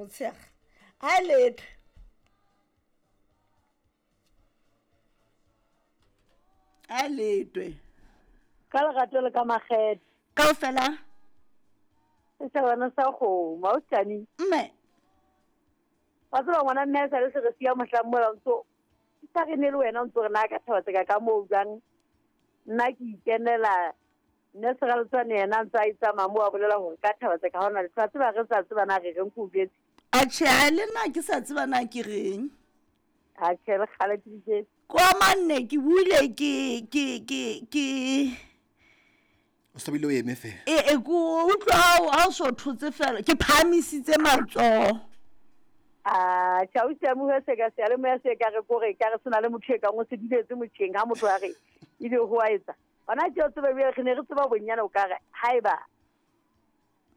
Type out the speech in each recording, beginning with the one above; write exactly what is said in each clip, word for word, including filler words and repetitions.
Motshega a letho. A letwe. Ka lerato le ka makgethe. Kaofela. Setjhabana sa kgomo, ausi. Mme. Wa tseba ngwana mme a sa le se re siya mohlang mola o ntso sa re ne le wena o ntso re na ka thaba tseka ka moo jwang. Nna ke ikenela nne Seraletswane yena a ntse a itsamaya moo a bolela hore ka thaba tseka ha hona letho. Wa tseba re sa tseba na re reng ke o jwetse. Atjhe, ha le nna ke sa tseba na ke reng. Atjhe, le kgale ke di Kwa manne ke buile ke ke ke ke O sa bile o eme fela. E e ko utlwa ha o ha o so thotse fela ke phahamisitse matsoho. Ah, tjhe, ausi ya mohu se ka seyalemoya se ka re kore ka re sena le motho e kang o se duletse motjheng ha motho a re ebe ho a etsa. Hona tje o tsebe bjale re ne re tseba bonyane o ka re haeba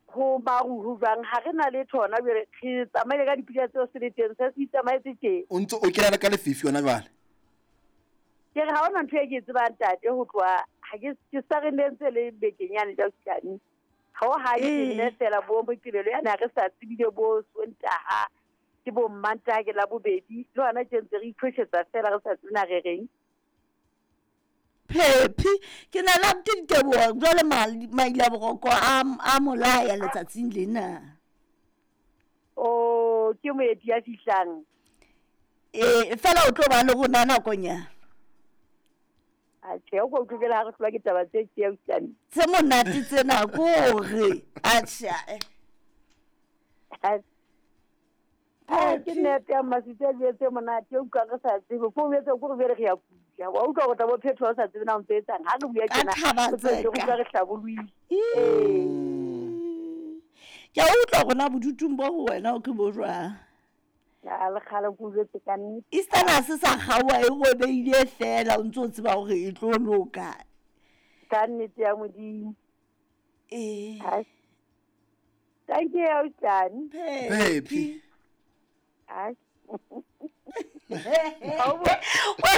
ho maru ho jwang ha re na letho hona jwale re tsamaile ka dipula tseo se le teng se se itsamaetse tje. O ntso o kena le ka lefifi hona jwale. Ke re ha hona ntho e ke e tsebang ntate ho tloha ha ke ke sa re ne ntse le bekeng yane ja Ausi. Ha o hae ke nne fela bo Moqebelo yane ha re sa tsebile bo Sontaha ke bo Mmantaha ke Labobedi le hona tje ntse re iphoshetsa fela re sa tsebe na re reng. Phephi ke na le diteboho jwale maila boroko a a molaya letsatsing lena. Oh, ke moeti ya fihlang. Eh, fela o tlo ba le rona nakonyana. Atjhe, o ko utlwela ha re hlolwa ke taba tse tje ausi. Tse monate tsena ko re. Atjhe. Ah, ke nnete ya Mmasitse a jwetse monate o utlwa re sa tsebe. Ko o jwetse ko re bele re ya kuja. Wa utlwa hore tla bo phetho ha o sa tsebe na o ntso etsang. Ha re bua Ka tjena, thaba re tse re utlwa tseka. re hlabollohile. Ee. Ke a utlwa hore na bodutung bo ho wena o ke bo jwang. Ya le kgale ke o jwetse ka nnete. Eastern ha se sa kgaoha e robehile fela o ntso tseba hore e tlo loka. Ka nnete ya Modimo. Eh. Hai. Thank you, ausi. Phephi. Hai. Wa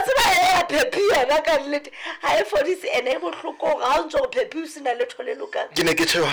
tseba e Phephi yena ka nnete ha e fodise ene e bohloko hore ha o ntso o Phephi o sena letho le lokang. Ke ne ke tjho.